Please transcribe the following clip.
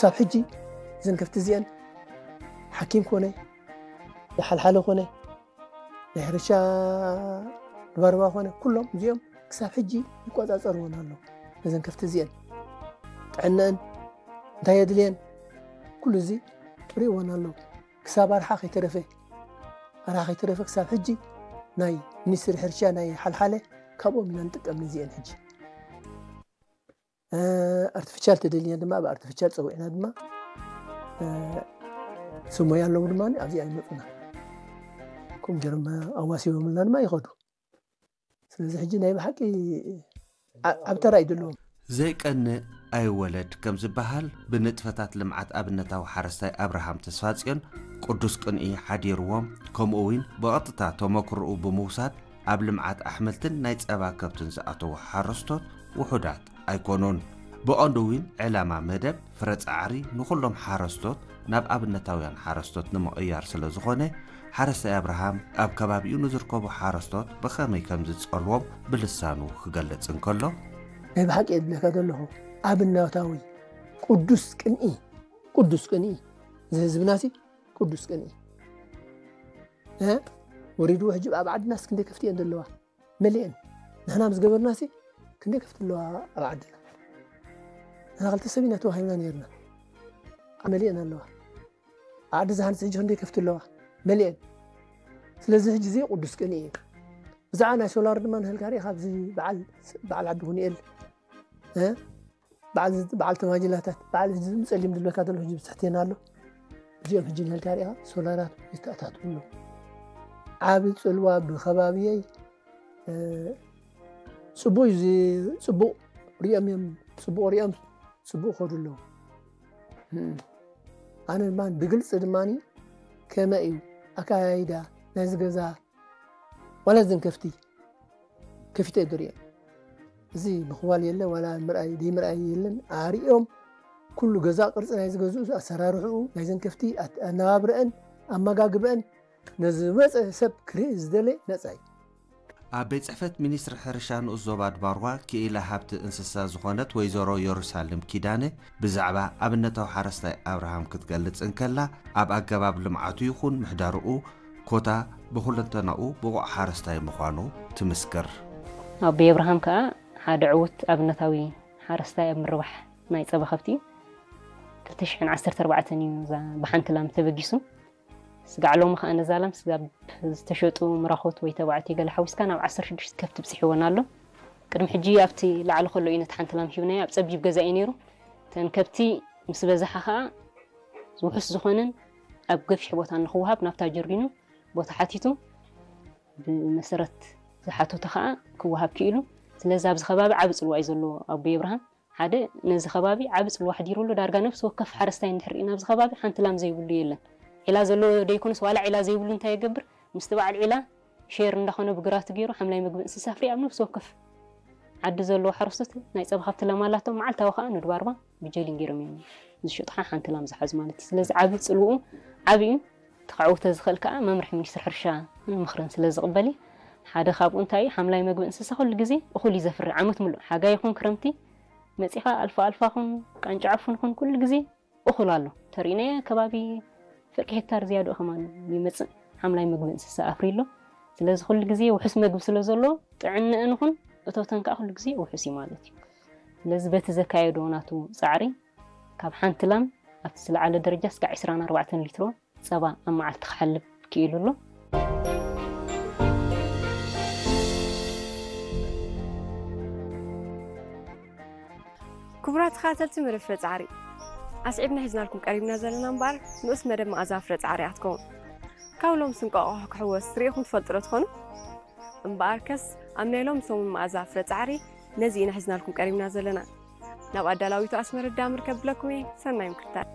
ክሳብ ሕጂ እዘን ከፍቲ እዚአን ሓኪም ኮነ፣ ሓልሓለ ኮነ፣ ናይ ሕርሻ ድባርባ ኮነ፣ ኩሎም እዚኦም ክሳብ ሕጂ ይቆጻጸርዎን ኣለዉ። ነዘን ከፍቲ እዚአን ጥዕነአን እንታይ የድልየን፣ ኩሉ እዚ ርእይዎን ኣለዉ። ክሳብ ኣርሓ ከይተረፈ፣ ኣርሓ ከይተረፈ ክሳብ ሕጂ ናይ ሚኒስትሪ ሕርሻ ናይ ሓልሓለ ካብኦም ኢና ንጥቀም ነዚአን። ሕጂ ኣርቲፊሻል ተደሊና ድማ ብ ኣርቲፊሻል ጸዊዕና ድማ ስሞይ ኣለዉ ድማ ኣብዚኣ ይመጹና። ከምኡ ገይሮም ኣዋሲቦምልና ድማ ይኸዱ። ስለዚ ሕጂ ናይ ብሓቂ ኣብ ተራ እዩ ዘለዎም። ዘይቀንእ ኣይወለድ ከም ዝበሃል፣ ብንጥፈታት ልምዓት ኣብነታዊ ሓረስታይ ኣብርሃም ተስፋጽዮን ቅዱስ ቅንኢ ሓዲርዎም፣ ከምኡ እውን ብቐጥታ ተመክርኡ ብምውሳድ ኣብ ልምዓት ኣሕምልትን ናይ ጸባ ከብትን ዝኣተዉ ሓረስቶት ውሑዳት ኣይኮኑን። ብቐንዱ እውን ዕላማ መደብ ፍረ ጻዕሪ ንኹሎም ሓረስቶት ናብ ኣብነታውያን ሓረስቶት ንምቕያር ስለ ዝኾነ፣ ሓረስታይ ኣብርሃም ኣብ ከባቢኡ ንዝርከቡ ሓረስቶት ብኸመይ ከም ዝጸልዎም ብልሳኑ ክገልጽ እንከሎ፣ ናይ ብሓቂ የብለካ ዘለኹ ኣብነታዊ ቅዱስ ቅንኢ፣ ቅዱስ ቅንኢ፣ እዚ ህዝብናሲ ቅዱስ ቅንኢ ወሪድዎ። ሕጂ ኣብ ዓድናስ ክንደይ ከፍቲ እየን ዘለዋ? መሊአን። ንሕና ምስ ገበርናሲ ክንደይ ከፍቲ ኣለዋ ኣብ ዓድና? ንሕና ክልተ ሰብ ኢና ተዋሂብና ነይርና። መሊአን ኣለዋ። ኣብ ዓዲ ዝሃንስ ሕጂ ክንደይ ከፍቲ ኣለዋ? መሊአን። ስለዚ ሕጂ እዚ ቅዱስ ቅንኢ እዩ። ብዛዕባ ናይ ሶላር ድማ ንህልካ ሪኢኻ ኣብዚ በዓል ዓዲ ሁንኤል በዓል ተማጅላታት በዓል ህዝቢ ጸሊም ድልበካ ዘሎ ህዝቢ ትሕቴና ኣሎ። እዚኦም ሕጂ ንህልካ ሪኢኻ ሶላራት ይተኣታትዉ ኣለዉ። ዓቢ ጽልዋ ብኸባብየይ ጽቡቅ እዩ። ጽቡቅ ሪኦም እዮም ጽቡቅ ሪኦም ጽቡቅ ከዱ ኣለዉ። ኣነ ድማ ብግልፂ ድማ ከመይ እዩ ኣካያይዳ ናይዚ ገዛ ዋላ እዘን ከፍቲ ከፊተ እየ ዝሪኦ። እዚ ምኽዋል የለ ዋላ ምርኣይ ደይምርኣይ የለን። ኣሪኦም ኩሉ ገዛ ቅርፂ ናይ ዝገዝኡ ኣሰራርሕኡ ናይዘን ከፍቲ ኣነባብረአን ኣመጋግበአን ነዚ ዝመፀ ሰብ ክርኢ ዝደለ ነፃ እዩ። ኣብ ቤት ጽሕፈት ሚኒስትሪ ሕርሻ ንኡስ ዞባ ድባርዋ ክኢላ ሃብቲ እንስሳ ዝኾነት ወይዘሮ የሩሳሌም ኪዳነ ብዛዕባ ኣብነታዊ ሓረስታይ ኣብርሃም ክትገልጽ እንከላ ኣብ ኣገባብ ልምዓቱ ይኹን ምሕዳርኡ ኮታ ብኹለንተናኡ ብቑዕ ሓረስታይ ምዃኑ ትምስክር። ኣቦይ ኣብርሃም ከኣ ሓደ ዕዉት ኣብነታዊ ሓረስታይ ኣብ ምርባሕ ናይ ጸባ ከብቲ እዩ። ክልተ ሽሕን ዓሰርተ ኣርባዕተን እዩ እዛ ብሓንቲ ላም ተበጊሱ። ስጋዕ ሎሚ ከኣ ነዛ ላም ስጋብ ዝተሸጡ ምራኾት ወይ ተባዕትዮ ገለ ሓዊስካ ናብ ዓሰርተ ሽዱሽተ ከብቲ ብጺሕወን ኣሎ። ቅድሚ ሕጂ ኣብቲ ላዕሊ ከሎ እዩ ነቲ ሓንቲ ላም ሂብናዮ፣ ኣብ ጸቢብ ገዛ እዩ ነይሩ። እተን ከብቲ ምስ በዝሓ ከኣ ውሑስ ዝኾነን ኣብ ገፊሕ ቦታ ንኽወሃብ ናብታ ጀሪኑ ቦታ ሓቲቱ ብመሰረት ዝሓተቶ ከኣ ክወሃብ ክኢሉ። ስለዚ ኣብዚ ከባቢ ዓቢ ጽልዋ እዩ ዘለዎ ኣቦይ ኣብርሃም። ሓደ ነዚ ከባቢ ዓቢ ጽልዋ ኣሕዲሩሉ። ዳርጋ ነፍሲ ወከፍ ሓረስታይ እንድሕር ርኢና ኣብዚ ከባቢ ሓንቲ ላም ዘይብሉ የለን። ዒላ ዘለዎ ዶ ይኮነስ ዋላ ዒላ ዘይብሉ እንታይ ይገብር? ምስቲ በዓል ዒላ ሼር እንዳኾነ ብግራቱ ገይሩ ሓምላይ ምግቢ እንስሳ ኣፍርዩ ኣብ ነፍሲ ወከፍ ዓዲ ዘለዎ ሓረስቶት ናይ ጸባ ከብቲ ላም ኣላቶም። መዓልታዊ ከኣ ንድባርባ ብጀሊን ገይሮም እዮም ዝሸጡኻ ሓንቲ ላም ዝሓዙ ማለት እዩ። ስለዚ ዓቢ ጽልውኡ ዓቢ እዩ። እቲ ከዕውቶ ዝኽእል ከኣ መምርሒ ሚኒስትሪ ሕርሻን ምኽርን ስለ ዝቕበል እዩ። ሓደ ካብኡ እንታይ እዩ ሓምላይ መግቢ እንስሳ ኩሉ ግዜ እኹል እዩ ዘፍሪ ዓመት ምሉእ ሓጋይ ይኹን ክረምቲ መጺኻ ኣልፋ ኣልፋ ኹን ቃንጫ ዕፉን ኹን ኩሉ ግዜ እኹል ኣሎ ተሪእናዮ ከባቢ ፍርቂ ሄክታር ዝያድኡ ከማን ይመጽእ ሓምላይ መግቢ እንስሳ ኣፍሪ ኣሎ። ስለዚ ኩሉ ግዜ ውሑስ መግቢ ስለ ዘሎ ጥዕንእን ኹን እቶተን ከኣ ኩሉ ግዜ ውሑስ እዩ ማለት እዩ። ስለዚ በቲ ዘካየዶ ናቱ ጻዕሪ ካብ ሓንቲ ላም ኣብቲ ዝለዓለ ደረጃ እስካዕ ዕስራን ኣርባዕተን ሊትሮ ጸባ ኣብ መዓልቲ ክሓልብ ክኢሉ ኣሎ። ክቡራት ተኸታተልቲ መደብ ፍረ ጻዕሪ ኣስዒብና ሒዝናልኩም ቀሪብና ዘለና እምበኣር ንኡስ መደብ መኣዛ ፍረ ጻዕሪ እያ ክትከውን። ካብ ሎምስ እንቋቑሖ ክሕወስ ርኢኹም ትፈልጡ ዶ ትኾኑ? እምበኣርከስ ኣብ ናይ ሎም ሰሙን መኣዛ ፍረ ጻዕሪ ነዚ ኢና ሒዝናልኩም ቀሪብና ዘለና። ናብ ኣዳላዊቱ ኣስመረዳ ምርከብ ብለኩም እየ። ሰናይ ምክትታል።